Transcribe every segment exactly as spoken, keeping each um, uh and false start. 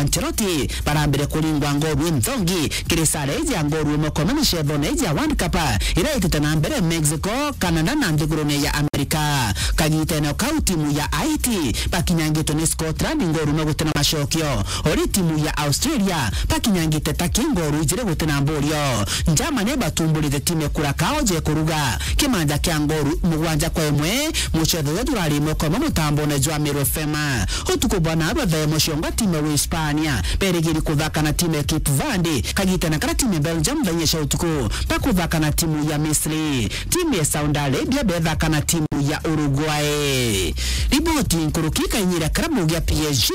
Ancelotti barambire kuringwa ngoru inthongi kiri sare iji ya ngoru imwe kwa imwe micethone iji ya World Cup iria itite na mbere Mexico, Canada na nthigurune ya Amerika. Kagitene kau timu ya Haiti bakinyangitwe ni Scotland ngoru imwe guti na macokio, ori timu ya Australia bakinyangite Turkey ngoru ijiri guti na mburio. Germany batumburite timu ya Curacao je kuruga kimanja kia ngoru mugwanja kwa imwe, mucetho uria jurari imwe kwa imwe mutambone jwa Miro F M. Utuku bwa narua thaa imwe ciongo timu ya Uhispania berigiri kuthaka na timu ya Cape Verde, kagitene karia timu ya Belgium thaa inya cia utuku bakuthaka na timu ya Misri. Timu ya Saudi Arabia bethaka na timu ya Uruguay. Riboti nkuruki ikainyira kirabu gia P S G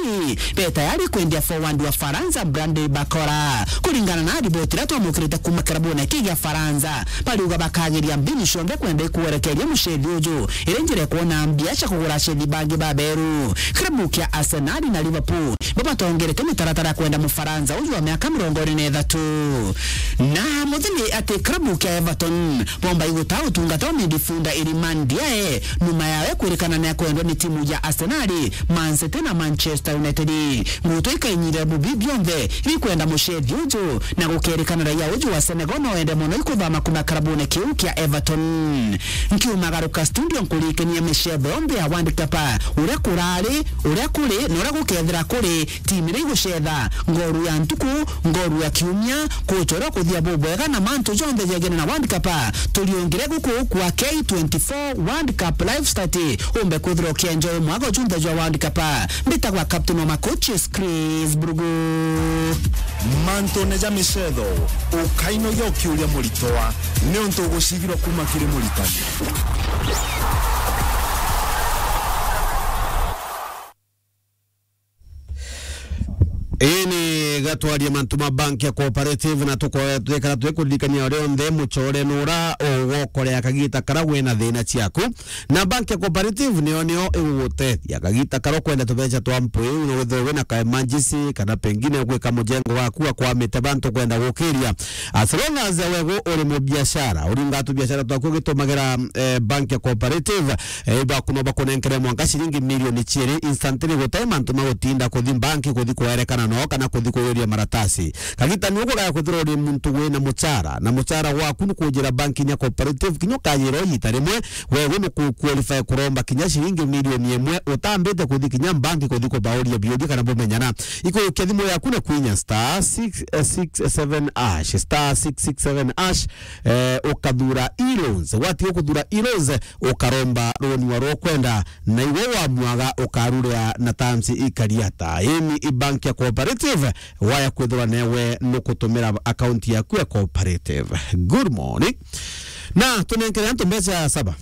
be tayari kwendia forward wa Faransa Bradley Barcola. Kuringana na riboti iria twamukirite kuuma kirabune kii gia Faransa, bariuga bakagiria mbinu cionthe kwenda ikwerekeria mucethi uju iri njira ya kwona mbia cia kugura acethi bangi baberu. Kirabu kia Arsenal na Liverpool bo batongerete mitaratara ya kwenda Mufaransa uju wa miaka mirongo iri na ithatu. Na muthini ati kirabu kia Everton bomba igutaa utungata wa midfielder Iliman Ndiaye nyuma yawe kwirikana ni akwendwa ni timu ya Arsenal, Man City na Manchester United. Nguto ikainyire bubi bionthe iri kwenda mucethi uju, na gukerikana raia uju wa Senegal no ende mono ikuthama kuma karabune kiu kia Everton. Nkiumagaruka studio nkurikenia micetho yonthe ya World Cup, uria kurari, uria kuri, na uria gukethira kuri, timu iria igucetha, ngoru ya ntuku, ngoru ya kiumia, kuchora kuthia bubwega na mantu jonthe jegene na World Cup. Turiungire guku kwa K twenty-four World Cup live start, umbe kwithirwa ukienjoy mwago junthe jwa World Cup. Mbitagwa captain wa ma coaches, Chris Brugu. Mantune ja micetho, ukainogia ukiuria muritwa, niuntu ugucigirwa kuma kiri muritani. Ii ni gatwaria mantu ma bank ya cooperative, na tuko-, twikara twikuririkania uria onthe muchore nura ugokorea kagita kara wina thina ciaku. Na bank ya cooperative niyo, niyo igugutethia kagita kara ukwenda tubeca twa mpwi, na withirwe wina ka emergency, kana pengine gwika mujengo waku akwamite bantu kwenda gukiria. As long as wegu uri mubiashara, uringa tu biashara twaku ugitumagira, eh, bank ya cooperative, eh, baku no bakunenkere mwanka ciringi milioni ciiri instantly, gutai mantu ma gutinda kuthi bank kuthi kwerekana no kana kuthi kuyuria maratasi. Kagita ni uku gaya kwithirwa uri muntu wina muchara, na muchara waku ni kujira bank kinya cooperative, kinya ukayirwa igita rimwe, wewe ni ku-, qualify kuromba kinya ciringi milioni imwe utambite kuthi kinya bank kuthi kubauria biuria kana bumenyana. Ikujukia thimu yaku na kwinya star six six seven hash, star six six seven hash, eh, ukathura e-loans. Watiga kuthura e-loans, ukaromba roni wa rwokwenda, na iwe wamwaga ukaruria na terms ikari ata. Ii ni i bank ya cooperative, waya kwithirwa newe nukutumira account yaku ya cooperative. Good morning. Na tunenkere antu mbeca saba.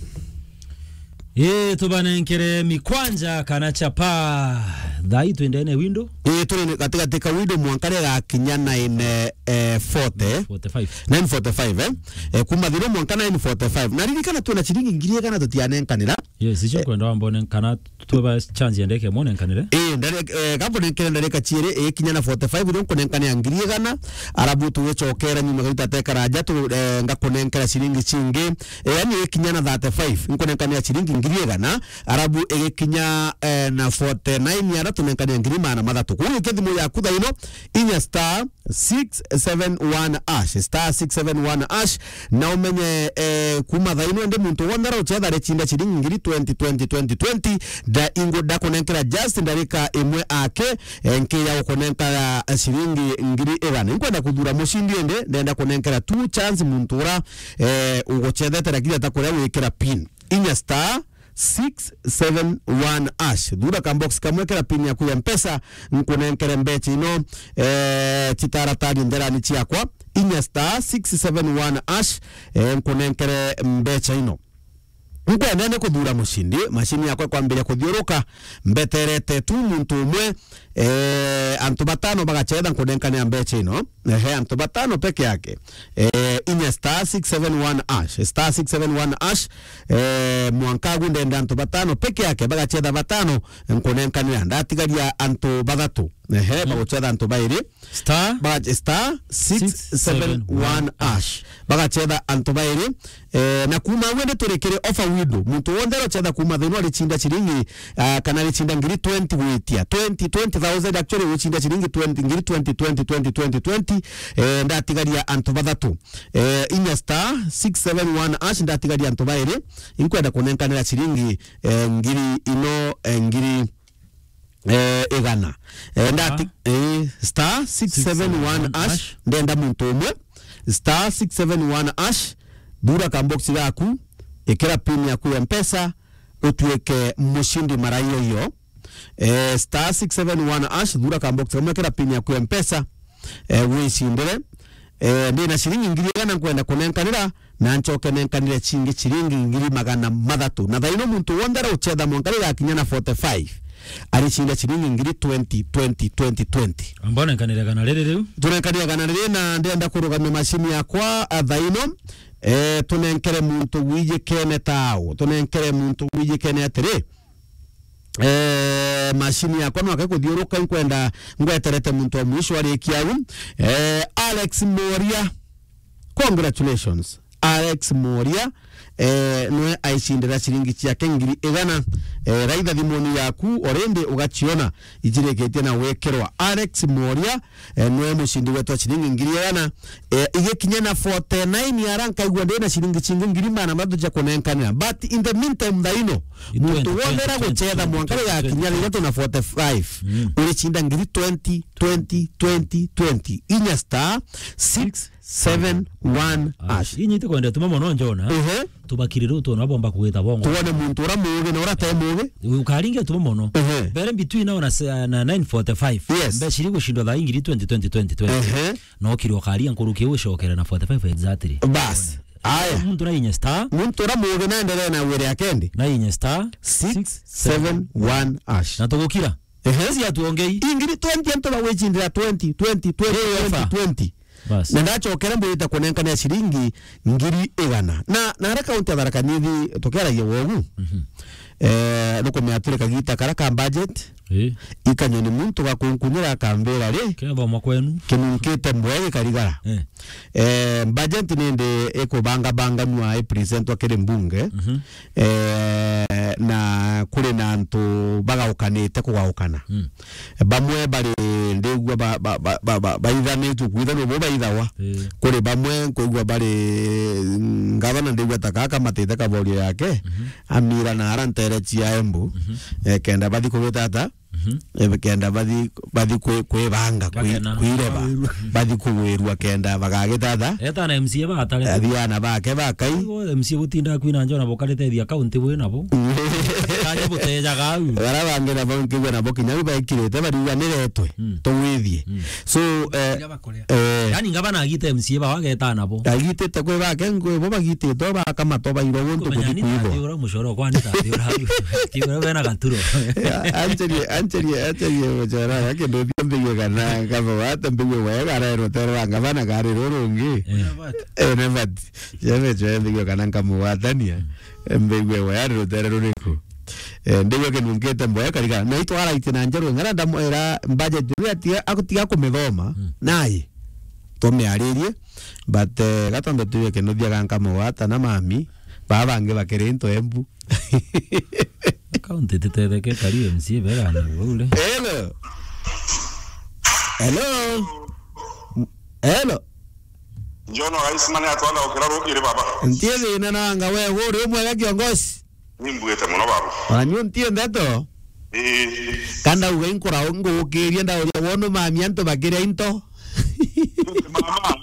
Ii, tubanenkere mikwanja kana chapa. Thai twendene window. Ii, turi gatigati ka window mwanka rigakinya nine, eh, forty. Forty-five. Nine forty-five, eh? Eh, kuma thiro mwanka nine forty-five. Na ririkana twina ciringi ngiri igana tutianenkanira. Yes, icio kwenda wambone kana tweba chance ya ndeke mone nkanire. Eh, ndare-, eh, kambo nenkere ndarika ciiri, eh, ikinya na forty-five, rio nkunenkania ngiri igana, arabu tugicokera nyuma gita tekara aja tu, eh, ngakunenkera ciringi cingi. Eh, yani ikinya na thirty-five, nkunenkania ciringi ngiri igana, arabu igikinya, eh, na forty-nine ara tunenkania ngiri magana mathatu. Kuguo ikia thimu yaku thaino, inya star six seven one hash, star six seven one hash, na umenye, eh, kuma thaino ndi muntu wonthe arauchetha arechinda ciringi ngiri twenty, twenty, twenty, twenty, nda ingu ndakunenkera just ndarika imwe ake, eh, nkiya gukunenkera ciringi ngiri igana. Nkwenda kuthura mucindi indi, ndenda kunenkera two chance muntu ura, eh, uguchethete lakini atakuria gwikira pin. Inya star six seven one hash. Thura ka box kamwe, kera pin yaku ya Mpesa, nkunenkere mbecha ino, eh, chitaratari nderani chiakwa. Inya star six seven one hash, eh, nkunenkere mbecha ino. Nkwenda ni kuthura mucindi, mashini yakwa ikwambiria kuthiuruka, mbeterete tu muntu umwe, eh, antu batano bagachetha nkunenkanira mbecha ino. Ehe, antu batano peke yake. Eh, inya star six seven one hash, star six seven one hash, eh, mwanka agu ndenda antu batano peke yake, bagachetha batano, nkunenkanira. Ndatigaria antu bathatu. Ehe, bagucetha antu bairi. Star. Baga-, star six seven one hash. Bagacetha antu bairi. Eh, na kuma agwe ni turikire offer window. Muntu wonthe arocetha kuma thaa ino arichinda ciringi, ah, kana arichinda ngiri twenty gwitia. Twenty, twenty thousand actually, guchinda ciringi twenty, ngiri twenty, twenty, twenty, twenty, twenty. Eh, ndatigaria antu bathatu. Eh, inya star six seven one hash, ndatigaria antu bairi. Inkwenda kunenkanira ciringi, eh, ngiri ino, eh, ngiri eh, igana. Eh, ndati-, eh, star six seven one hash, ndenda muntu umwe. Star six seven one hash, thura kambox gaku, ikira pin yaku ya Mpesa, utuike mushindi mara iyo iyo. Eh, star six seven one hash, thura kambox kamwe, ikira pin yaku ya Mpesa, eh, wicindire. Eh, ndina ciringi ngiri igana nkwenda kunenkanira, na ncoke nenkanire cingi ciringi ngiri magana mathatu. Na thaino muntu wonthe araucetha mwanka rigakinya na forty-five, aricinda ciringi ngiri twenty, twenty, twenty, twenty. Amba unenkanire gana riri riu. Tunenkanire gana riri, na ndenda kurugamia macini yakwa, a, thaino. Eh, tunenkere muntu wijikene tao. Tunenkere muntu wijikene atiri. Eh, macini yakwa no akakuthiuruka, nkwenda ngweterete muntu wa mwisho arikia au. Eh, Alex Moria. Congratulations. Alex Moria, eh, nwe aicindira ciringi ciake ngiri igana. Eh, raitha thimuni yaku, already ugaciona icirikitie na gwikirwa. Alex Moria, eh, nwe mucindi wetu wa ciringi ngiri igana. Eh, igikinya na forty-nine ara nkaigua ndina ciringi cingi ngiri magana mathatu cia kunenkanira. But in the meantime, thaino, muntu wonthe aragucetha mwanka rigakinya riria tuna forty-five, uricinda ngiri twenty, twenty, twenty, twenty. Inya star six seven one hash. Inyi itikwenda tuma mono njona. Ehe. Tubakirire utu na bomba kugita bongo. Tuone muntu ura mugi na ura te mugi. Ukaringe tuma mono. Ehe. Bere between now na se-, na nine forty-five. Yes. Mbe ciri gucindwa thaa ingiri twenty, twenty, twenty, twenty. Ehe. No kiri ukaria nkuruki ucokere na forty-five exactly. Bas. Aya. Muntu na inya star. Muntu ura mugi na endelee na wire akendi. Na inya star six seven one hash. Na tugukira. Ehe. Ezi atuongei. Ingiri twenty antu bagwicindira twenty, twenty, twenty, twenty, twenty. Bas. Na ndacokere mbwite kunenkanira ciringi ngiri igana. Na, na ara kaunti ya Tharaka Nithi tukiaragia wogu. Mhm. Eh, nukumea turi kagita kara ka budget. Ii. Ikanyoni muntu gakunkunyira akambira ri. Kethoma kwenu. Kinunkite mboya gikarigara. Eh. Eh, budget nindi ikubangabanganua ipresentwa kiri mbunge. Mhm. Eh, na kuri na antu bagaukanite kugaukana. Mm. Bamwe bari ndigua ba-, ba-, ba-, ba-, ba-, baithanitue kwithanua bo baithawa. Eh. Kuri bamwe nkwigua bari ngavana ndigua ta kaka matite kavorio yake, mhm, amira na ara ntere cia Embu, mhm, eh, kenda bathi kugita ata? Mhm. Eh, kenda bathi, bathi kwi-, kwibanga, kwi-, kwireba. Bagena. Bathi kugwirua kenda bagagita ata? Eta na M C A bagatare. Athiana bake bakai. Igo M C A gutinda kwina njona bokarite thia county bwe nabo. Kanya butejaga au. Bara bangi nabo nkigwa nabo kinya u bekirite bariuga niretwe. Mm. Tugwithie. Mm. So, eh, Iria bakorea. Eh. Yani ngavana agite M C A bao ageta nabo. Agitite kwi bake ngwi bo bagititwe bakamato bairwo guntu kuthi kuibo. Ati ura mucoro kwani ati ura au. Ati ura bena gaturo. Ancherie, ancherie, ancherie mucoro ya kindu thia mbigue kana ngabo wata mbigue wega ara rutere rwa ngavana kari rurungi. Eh. Eh, ne bati. Jebe jebe mbigue kana nkamugwatania. Mbigue wega rutere ruriku. Eh, ndigwe kinunkite mboya karigara. Na itwaraitie na njeru ng'ara ndamwira budget iria atiga, agutiga kumithoma. Mm. Naye. Tumiaririe. But, eh, gatondu tuge kinuthia ganka mugwata na mami. Baba bangi bakiri into Embu. County titetheke kari M C A bera na ule. Hello. Hello. Hello. Njono Iceman atwala ukira rukiri baba. Ntie thina na anga we uri umwega kiongozi. Nimbuite muno baba. Ona niu ntie ndeto. Ii. Kanda uga inkura ngukirie ndauria wonu mami antu bakiria into. Mama.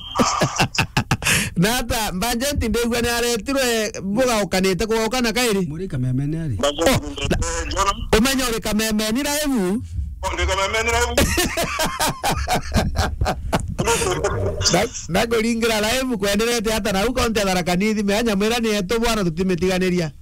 Na ata, Mbajenti ndigua ni aretirwe bugaukanite kugaukana kairi? Muri kamemene ari. Oh, na, Jona. Umenya uri kamemeni live? Oh, ndi kamemeni live. Na, na kuringira live kwenderete ata na u kaunti ya Tharaka Nithi, menya mwira ni etu bwana tutimithiganiria.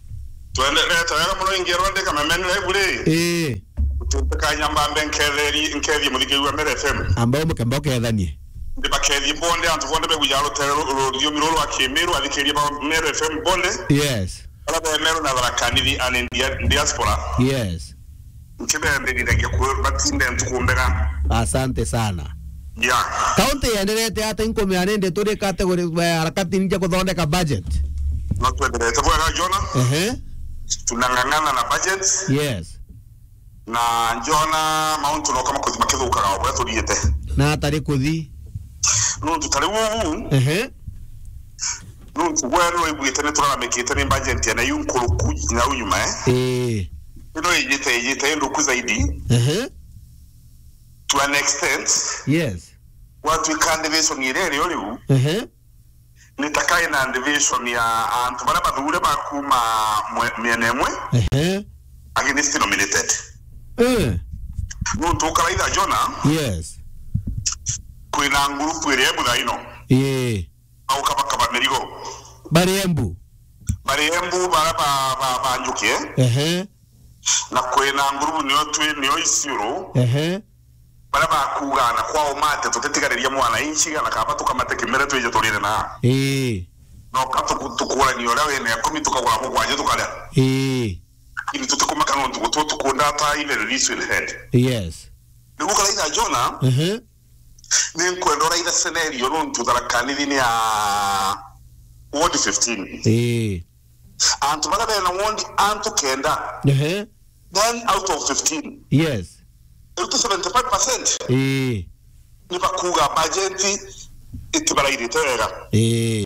Twenderete wega muno ingerwa ndi kamemeni live ri. Ii. Tutikanyamba mbe nketheri, nkethie muthikiriria wa Meru F M. Amba umukemba ukethanie. Ndibakethie bonde, antu bonde begujaga rutere ru-, ru-, ruriomi ruru rwa Kimiru, athikiriria ba Meru F M bonde. Yes. Ala be Meru na Tharaka Nithi and in dia-, diaspora. Yes. Nkibembirithagia ku-, batinde ntuku mbega. Asante sana. Yeah. Kaunti yenderete ata? Inkumea nindi turi category, eh, harakati ninja kuthondeka budget. No twenderete bwega, Jona. Ehe. Tunang'ang'ana na budget. Yes. Na Jona, mauntu no kama kuthi makithukaga o buria turiite. Na atari kuthi. Nuntu ta riu uu, ehe, nuntu gwe no iguite ni turaramikite ni budget ya na yu nkuruku na u nyuma, eh? Ii. Ino ijite, ijite nduku zaidi. Ehe. To an extent. Yes. Gwatuika division iria irio riu, ehe, ni ta kai na division ya antu baria bathure ba kuma mwe-, miena imwe, ehe, against nominated. Eh. Nuntu ukaraitha Jona, yes, kwina ngurupu iria imwe thaa ino. Ii. Baukabakaba mirigo. Bari Embu? Bari Embu, bara ba, ba, ba Njuki, eh? Ehe. Na kwina ngurubu nio twi, nio Isiolo. Ehe. Bara bakuga na kwao mate, tutitigariria mwananchi, na kaba tukamate kimere twije turire na. Ii. No ka tuku-, tukurania uria wina ikumi, tukagura mugwanja, tukaria. Ii. Lakini tutikumaka nontu gutu tukunda ta ile release in head. Yes. Niguo karaitha Jona, ehe, ni nkwenda uraitha scenario nontu Tharaka Nithi ni ya ward fifteen. Ii. Antu baria bena ward antu kenda, ehe, nine out of fifteen. Yes. Irutu seventy-five percent. Ii. Ni bakuga budget itibarairite wega. Ii.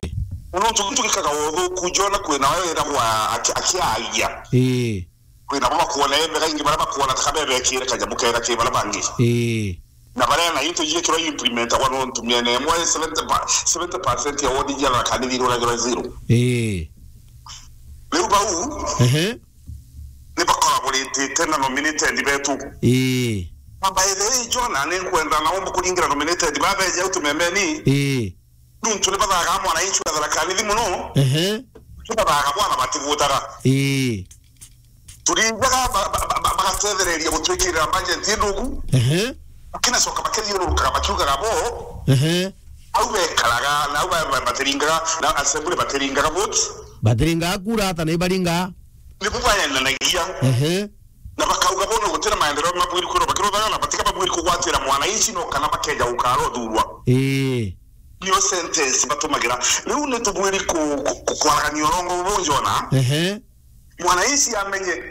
Nontu gintu gikaga uthuku, Jona, kwina we wiragwa aki-, akiaria. Ii. Kwina bo bakwona embega, ingi baria bakwona ta ka bebekire kanyamu kega ki baria bangi. Ii. Na baria na into ijikirwa implementagwa nontu miena imwe seventy pa-, seventy percent ya ward ijia Tharaka Nithi iruragirwa zero. Ii. Riu bau, ehe, ni bakoragwa ritite na nominated betu. Ii. Na by the way, Jona, ni nkwenda na umbu kuringira nominated babeje au tumembeni. Ii. Nuntu ni bathaga mwananchi wa Tharaka Nithi mono. Ehe. Ni bathaga bwana batigutaga. Ii. Turinjaga ba-, ba-, ba-, ba-, bagatethereria gutwikirira budget ndugu. Ehe. Bakinacoka bakithiururukaga bakiugaga bo. Ehe. Au bekaraga, na au ba-, ba-, batiringaga, na assembly batiringaga vote. Batiringaga kura ata na ibaringaga? Nibu baenanagia. Ehe. Na bakauga bono gutira maendeleo mabwiri kwirwa bakiruthaga na batiga babwiri kugwatira mwananchi no kana bakeja gukara uthurwa. Ii. Niyo sentence batumagira. Riu ni tubwiri ku-, ku-, ku-, kwaragania urongo bubu Jona. Ehe. Mwananchi amenye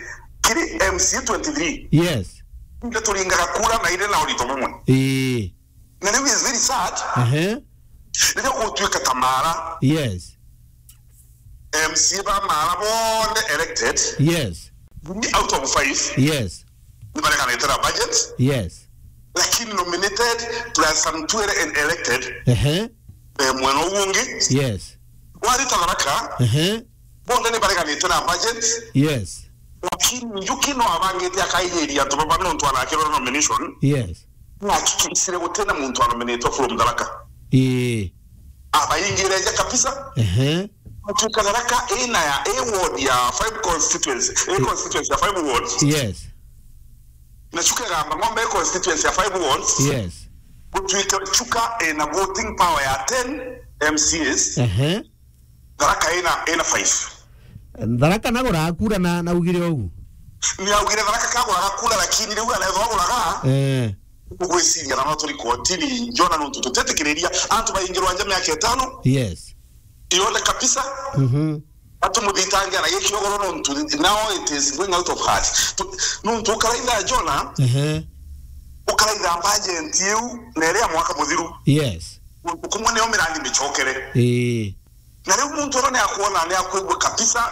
kiri M C A twenty-three. Yes. Ndio turingaga kura na ire na urito bumwe. Ii. Na riu is very sad. Ehe. Riria gutuika ta Mara. Yes. M C A ba Mara bonthe elected. Yes. Three out of five. Yes. Ni bareganite na budget. Yes. Lakini nominated plus some twere and elected. Ehe. Eh, mwena ugu ungi. Yes. Warita Tharaka. Ehe. Bonthe ni bareganite na budget. Yes. Lakini Njuki no abangite akaijiria antu baba nontu anakirwa nomination. Yes. Nahakikishire gutina muntu anominatwa from Tharaka. Ii. Abaingireja kabisa. Ehe. Gutuika Tharaka ina ya, i ward ya five constituency, i constituency ya five wards. Yes. Na Chuka igamba ng'ombe i constituency ya five wards. Yes. Gutuika Chuka ina voting power ya ten M C As. Ehe. Tharaka ina, ina five. Tharaka naguraga kura na, na ugire ugu? Ni augire Tharaka kaguraga kura, lakini riu anethwa aguraga. Eh. Ugwiciria na no turi kotini, Jona, nontu tutetikiriria antu baingirwa nja miaka itano. Yes. Ione kabisa. Mhm. Atumuthitangia na gikiogoro nontu now it is going out of hand. Tu-, nontu ukaraitha Jona, ehe, ukaraitha budget iu na iria mwaka muthiru. Yes. Nontu kumwe niyo mirandi micokere. Ii. Na riu muntu uria ni akwona, ni akwigua kabisa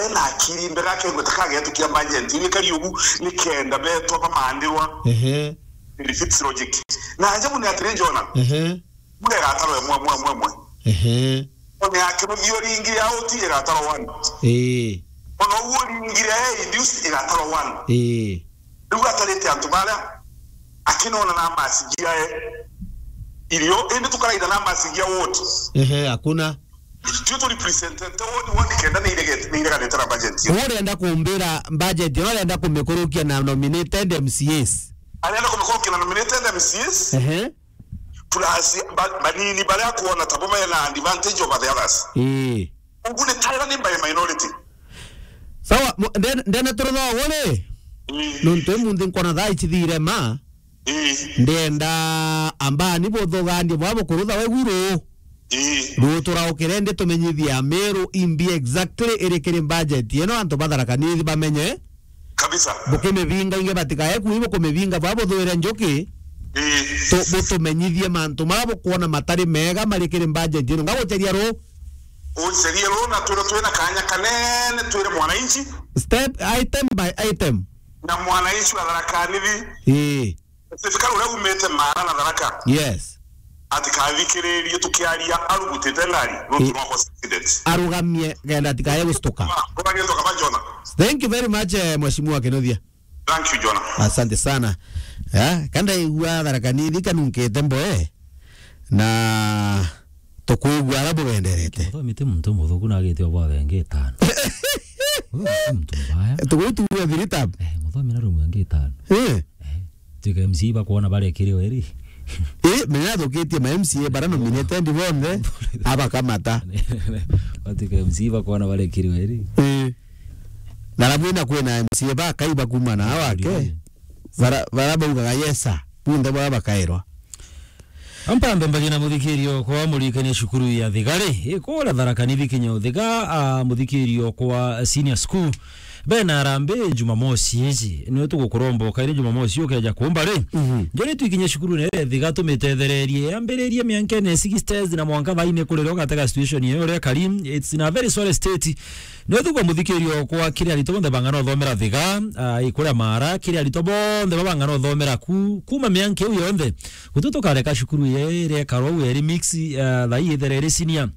ena akiri mbega, akegweta kagetu kia budget ni kari ugu, ni kenda betwa bamandirwa. Ehe. It fits logic. Na ajabu ni atiri Jona. Ehe. Mure gataro emwe, mwe, mwe, mwe. Ehe. One yake muthio ringi ya oti igataro one. Ii. Ona uguo ringi ya induce igataro one. Ii. Riu atarite antu baria akinona na masigia e irio, indi tukaraitha na masigia wote. Ehe, hakuna. Tio tu representete ward, ward kenda ni iregete, ni ireganite na budget. Urenda kumbira budget, urenda kumikurukia na nominated M C As. Arenda kumikurukia na nominated M C As. Ehe. Plus, ba-, banini baria kuona tabo mena advantage over the others. Ii. Ugu ni Tyler ni by minority. Sawa, mu-, nde-, ndene turutha uguri? Mm. Nontu imunthi nkona thaa ici thire ma. Mm. Ndienda ambani buthuganie bwa bukurutha we guru. Mm. Rutura ukirende tumenyithie Ameru imbi exactly iri kiri budget. Ino antu ba Tharaka Nithi bamenye. Kabisa. Bukimivinga inge batikae kui bukumivinga bwa buthwire njuki. Mm. Tu-, butumenyithie mantu mara bukwona matari mega mari kiri budget ino. Ngaguceria ru. Ucerie ru na twire twina kanya kanene twire mwananchi. Step item by item. Na mwananchi wa Tharaka Nithi. Ii. Specifically uria umite Mara na Tharaka. Yes. Atikathikiririe tukiaria arugutite ngari, nontu I- no cause accident. Arugamie kenda atikae gucituka. Uria gitwa kaba Jona. Thank you very much, eh, Mheshimiwa Kinuthia. Thank you, Jona. Asante sana. Eh, kanda igua Tharaka Nithi kanunkite mboe. Na tukwigua ara bugenderete. Muthomi ti muntu muthuku na agite obwathe ngi itano. Muthomi ti muntu mbaya. Tugutu wa Viritab. Eh, muthomi na rumwe ngi itano. Eh. Eh, tuika M C A bakwona barekire weri. Eh, menya thukitie ma M C A bara nominated bonthe abakamata. Tuika M C A bakwona barekire weri. Eh. Na labwina kwina M C A bakai bakuma na awake. Bara, bara baugaga, "Yes, sir." Bunthe bara bakairwa. Ampambe mbagi na muthikirio kwa murikania cukuru ya Thigari, ikura Tharaka Nithi kinya Uthiga, a, muthikirio kwa senior school. Bena arambe Jumamosi iji, niwe tugukuromba ukaire Jumamosi ukeja kumba ri. Mhm. Njori twikinye cukuru ne Thiga tumitethererie, yambiririe miankene sixties na mwanka thaine kurira ugatega situation iyo uria kari, it's in a very sorry state. Niwe tukumuthikiria okwa kiri aritwa bonthe bang'ana uthomera Thiga, ah, ikuria Mara, kiri aritwa bonthe babang'ana uthomera ku, kuma mianka iu yonthe. Guti tukareka cukuru iria ikarwa u eri mix, ah, thaa ii ithere iri senior.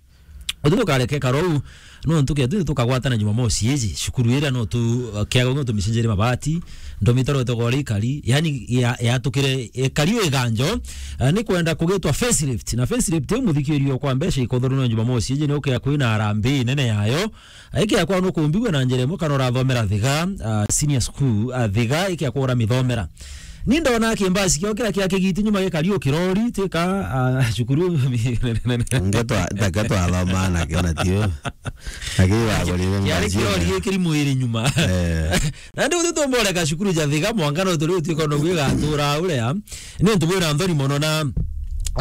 Guti tukareka ikarwa u, nontu ketu tukagwatana Jumamosi iji, cukuru iria no tu, ah, kiaga no tumicenjerie mabati, ndomitaro itogori ikari, yani ya, yatukire ikari u iganjo, ah, ni kwenda kugitwa facelift. Na facelift iu muthikiria okwa mbeca ikothorwa no Jumamosi iji ni ukia kwina harambee nene yayo. Iki akwa nukumbigua na njira imwe kana urathomera Thiga, ah, senior school, ah, Thiga, iki akwa uramithomera. Ni ndona kimbasi kiao kiria kia kigiti nyuma gikari o kirori, tika, ah, cukuru. Ngetwa, ngetwa athoma na kiona tio. Lakini wagorire kiari mbazi kirori ina. Gikiri mwiri nyuma. Eh. Na ndi guthi tumboreka cukuru ja Thiga mwanka no turi utuika no gwigatura uria. Ni ntu bwira nthoni mono na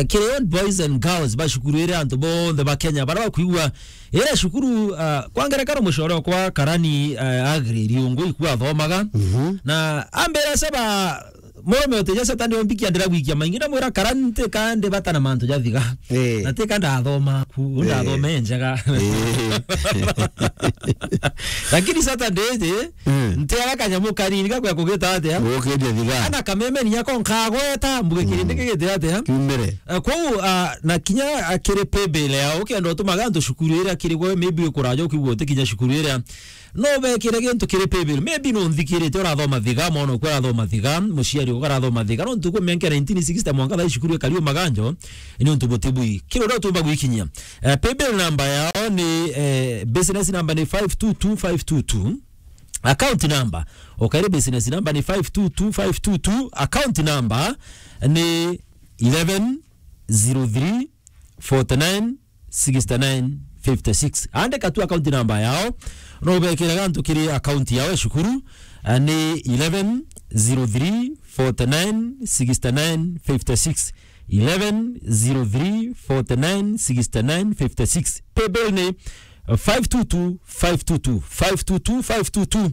kiri old boys and girls ba cukuru iria antu bonthe ba Kenya bara bakwigua Ira cukuru, ah, kwa ngerekano mucore okwa Karani, ah, Agri Riungu iku athomaga. Mhm. Na ambira saba murume utija Saturday ombikia ndira gwikia maingi, ndamwira Karani ntika ndi bata na mantu ja Thiga. Eh. Na ntika ndathoma ku, eh, ndathoma enjaga. Eh. Lakini Saturday iji, mm, ntiaga kanyamu kanini gakwa kugita atia? Gukiria Thiga. Ana kameme ni yako nkagweta, mbuge kirindi, mm, kigite atia? Kiumire. Eh, kwou, ah, na kinya, ah, kiri paybill yao, ukenda utumaga antu cukuru iria kiri gwe, maybe ukuraja ukigua utikinya cukuru iria. No bekire gintu kiri paybill. Maybe no nthikirite urathoma Thiga, mwana okwa arathoma Thiga, muciari okwa arathoma Thiga. No ntuku mianka nineteen sixty mwanka thaa cukuru ikari o maganjo, ni untu buti bui. Kiri uria utumba gwikinyia. Eh, paybill number yao ni, eh, business number ni five two two five two two. Account number, ukaire business number ni five two two five two two, account number ni eleven zero three forty nine sixty nine fifty six. Andika tu account number yao, no ubekira gantu kiri account yao ya cukuru, eh, ni eleven zero three forty nine sixty nine fifty six. Eleven zero three forty nine sixty nine fifty six. Paybill ni five two two five two two, five two two five two two.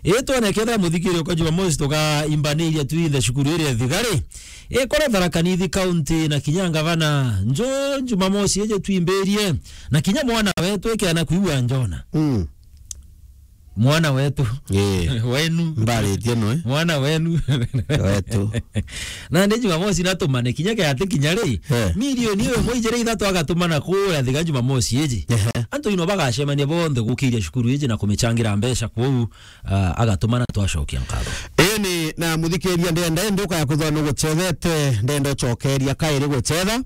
Itwa na kenda muthikiri kwa Jumamosi tuka imbaniria tu in the cukuru iria Thigari. Ikora Tharaka Nithi County na kinya ngavana njo Jumamosi eje tuimbirie. Na kinya mwana wetu ekeana kuigua njona. Mm. Mwana wetu. Eh. Wenu. Mbaritie no, eh? Mwana wenu. Wetu. Na ndi Jumamosi natumane kinya kiati kinya ri. Eh. Milioni iyo imwe ijiri ithatu agatumana kuria Thiga Jumamosi iji. Ehe. Antu ino bagacemania bonthe gukiria cukuru iji na kumichangira mbeca kuu, ah, agatumana twacokia nkatho. Ii ni na muthikiria ndenda indi ukaya kwithwa nugucethete, ndenda ucokeria kairi gucetha.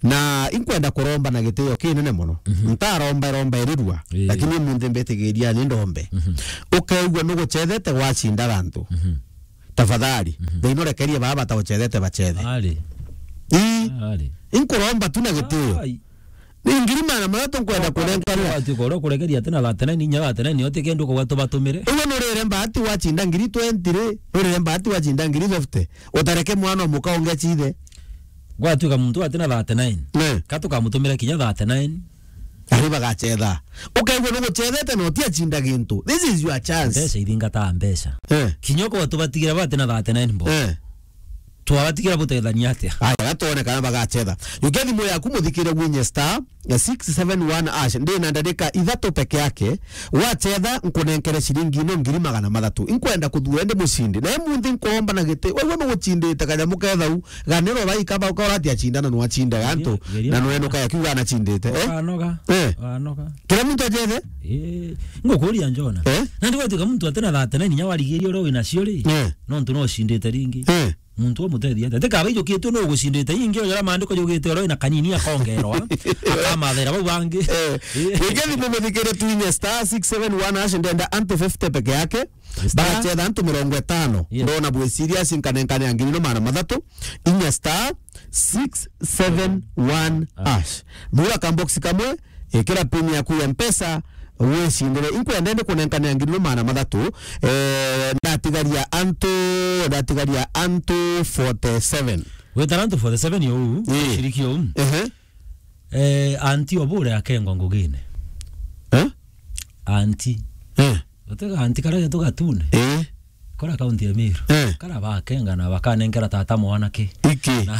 Na inkwenda kuromba na gitio kinene mono. Mhm. Ntaromba, romba irirua, ii, lakini umunthi mbitigiria ni ndombe. Mhm. Ukeigua nugucethete gwacinda gantu. Mhm. Tafadhali, mhm, thina urekerie baba bataucethete bacethe. Ari. Ii. Ari. Inkuromba tu na gitio. Ai. Ni ngiri magana mathatu nkwenda kunenkanira. Watuika uria ukurekeria ati na thirty-nine, inya thirty-nine, yo ti kindu kuga tubatumire. Uguo nurire mbati wacinda ngiri twenty ri, nurire mbati wacinda ngiri fifty. Utareke mwana o muka ungi acithe. Gwatuika muntu ati na thirty-nine. Ne. Ka tukamutumira kinya thirty-nine. Ari bagacetha. Ukaigua nugucethete na utiacinda gintu. This is your chance. Mbeca ithingata mbeca. Eh. Kinya ukorwa tubatigira bati na thirty-nine bo. Eh. Twabatigira butethania atia? Aya, gatwone kana bagacetha. Jukia thimu yaku muthikire gwinye star six seven one hash. Ndi na ndarika ithatu peke yake. Wacetha, nkunenkere ciringi ino ngiri magana mathatu. Inkwenda kuthura ndi mucindi. Na munthi nkomba na giti. Wewe nugucindite kanyamu kethau. Ganiro baika bauka urati acindana nwacinde gantu. Geria, geria. Na nwenuka yakiuga anacindite. Eh? Wanoga. Eh. Wanoga. Kila muntu acethe? Eh. Ngukuria Njona. Eh? Na ndi gwatuika muntu ati na thirty-nine inya warigiria uria wina cio ri. Eh. Nontu no ucindite ringi. Eh. Muntu umutethia atia? Tika baijukitwe no ugucindite ingi, ujara maandiko jugite oro na kanini akongerwa. Akamathera bau bangi. Eh. Eh. Wikendi mumuthikire twinye star six seven one hash, ndenda antu fifty peke yake. Star. Bagacetha antu mirongo itano. Yes. Ndona bwi serious, nkanenkane ngiri no magana mathatu. Inya star six seven one hash. Thura kambox kamwe, ikira pin yaku ya Mpesa, wicindire. Inkwenda ndi kunenkanira ngiri no magana mathatu. Eh, ndatigaria antu, ndatigaria antu forty-seven. Wetara antu forty-seven yo u, ii, shiriki yo u. Ehe. Eh, anti obure akengwa ngugine. Eh? Anti. Eh. Utega anti kara getu gatune. Eh. Kora kaunti ya Meru. Eh. Kara bakenga na bakanenkera tata mwanake. Iki. Na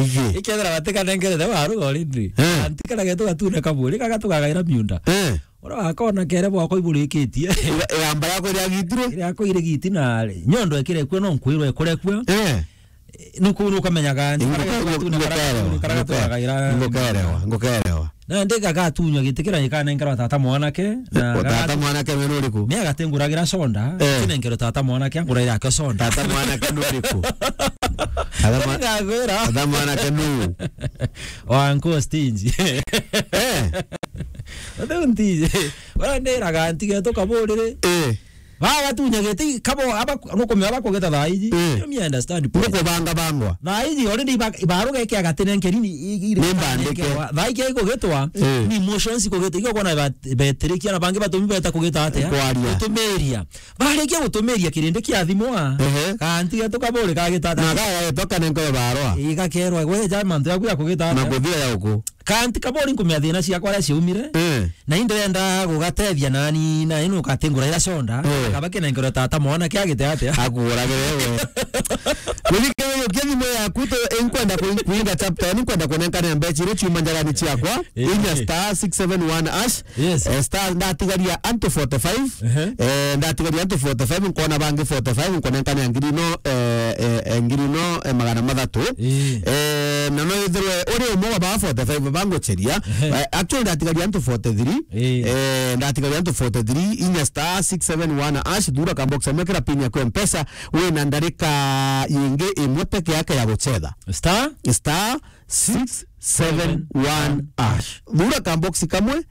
iki. Ikethira batikanenkerete waru already. Eh. Anti kara getu gatune kaburi, kaga tugagaira miunda. Eh. Ora wakona kere bwako iburikitie. Ira-, igamba yako iriagitirwe? Iriako irigiti na nyondo ekire kuo no nkwirwe ekore kuo. Eh. Nuku nukamenyaga, ngukerewa, ngukerewa, ngukerewa. Na ndi gagatunywa giti kira gikanenkerwa tata mwanake, na tata mwanake we nuriku? Ni agatenguragira soda, eh, kinenkerwe tata mwanake, anguraira ake soda. Tata mwanake nuriku? Tata mwa-, tata mwanake nu? Wa nko stingy. Eh. Ate unti. Wala ndiraga ntige tukaburire. Eh. Bagatunya giti kabo aba nukumenya bakugeta thaa iji. Eh. Let me understand, please. Nukubanga bangwa. Thaa iji already iba-, ibaruga iki agatinenkerini i-, i-, ni mbandike. Thaa iji ikugitwa, eh, ni emotions ikugitwa. Ikio kwona bet-, betirikia na bangi batumi beta kugita atia? Kwaria. Gutumiria. Barikia gutumiria kirindi kia thimu a. Ehe. Kanti getu kaburi kagita atia? Na gaga getu kanenko barwa. Igakerwa, gwe ja mantu yaku ya kugita atia? Na kuthia ya uku. Kanti kaburi nkumenya thina ciakwa aria ciaumire. Eh. Na indirenda gugatethia nani, na ino ukatingura ira conda. Eh. Kaba kinenkerwe tata mwana kia gite atia? Akuguragire we. Wirike we, ukia thimu yaku, tu-, inkwenda ku-, kuinga chapter, inkwenda kunenkania mbeca iria ciuma njarani ciakwa. Eh. Inya star six seven one hash. Yes. Eh, star, ndatigaria antu forty-five. Ehe. Eh, ndatigaria antu forty-five, nkona bangi forty-five, nkonenkania ngiri no, eh, eh, eh, ngiri no, eh, magana mathatu. Ii. Eh, na no ithirwe uri umwe wa ba forty-five bangucheria. Ehe. Eh, actually, ndatigaria antu forty-three. Ii. Eh, ndatigaria antu forty-three, inya star six seven one hash, thura ka box amwe kira pin yaku ya Mpesa, wina ndarika yingi imwe peke yake ya guchetha. Star? Star six seven one hash. Thura ka box kamwe,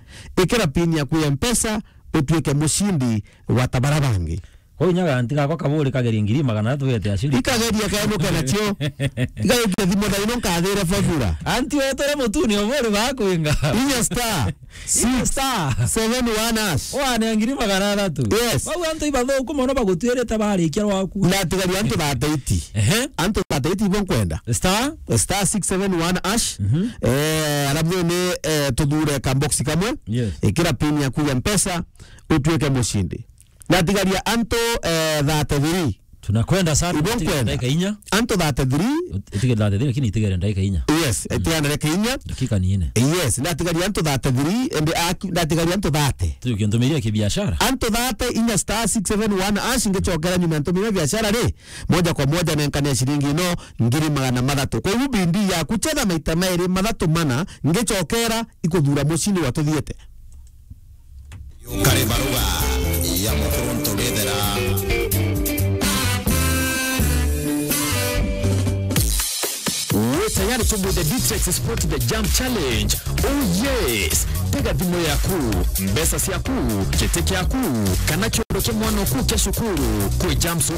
ikira pin yaku ya Mpesa, utuike mucindi wa tabara bangi. Kwou inya ganti gakwa kaburi kagerie ngiri magana athatu gete aciri. Ikageria kaenuke nacio. Igaike thimu thaino nkathire fabura. Anti wetu ri mutuni oburi bakwinga. Inya star. Inya star. Six seven one hash. Wane ngiri magana athatu. Yes. Bau antu ibathuku mono bagutwirite barikia rwaku. Ndatigaria antu thirty-eight. Ehe. Antu thirty-eight ibo nkwenda. Star. Star six seven one hash. Mhm. Eh, alafu ni, eh, tuthure ka box kamwe. Yes. Ikira pin yaku ya Mpesa, utuike mucindi. Ndatigaria antu, eh, thirty-three. Tunakwenda sana. Ibo nkwenda. Dakika inya. Antu thirty-three. Utigere thirty-three, lakini itigere dakika inya. Yes, mm, itigere dakika inya. Dakika ni ine. Yes, ndatigaria antu thirty-three, and aki-, ndatigaria antu thirty. Tujuke ntumiria kibiashara. Antu thirty, inya star six seven one hash, ngicokera nyuma ntumiria biashara ri, moja kwa moja nenkania ciringi ino ngiri magana mathatu. Kwa hiyo bindi ya kuchetha maita mairi, mathatu, mana, ngicokera ikuthura mucindi wa tuthiete. Kari baruga ya mukuru nturithera. Wi tayari to be the D T X Sport the Jump Challenge? Oh yes! Tega thimu yaku, mbeca ciaku, giti kiaku, kana kiondo kia mwana oku kia cukuru kwi Jumps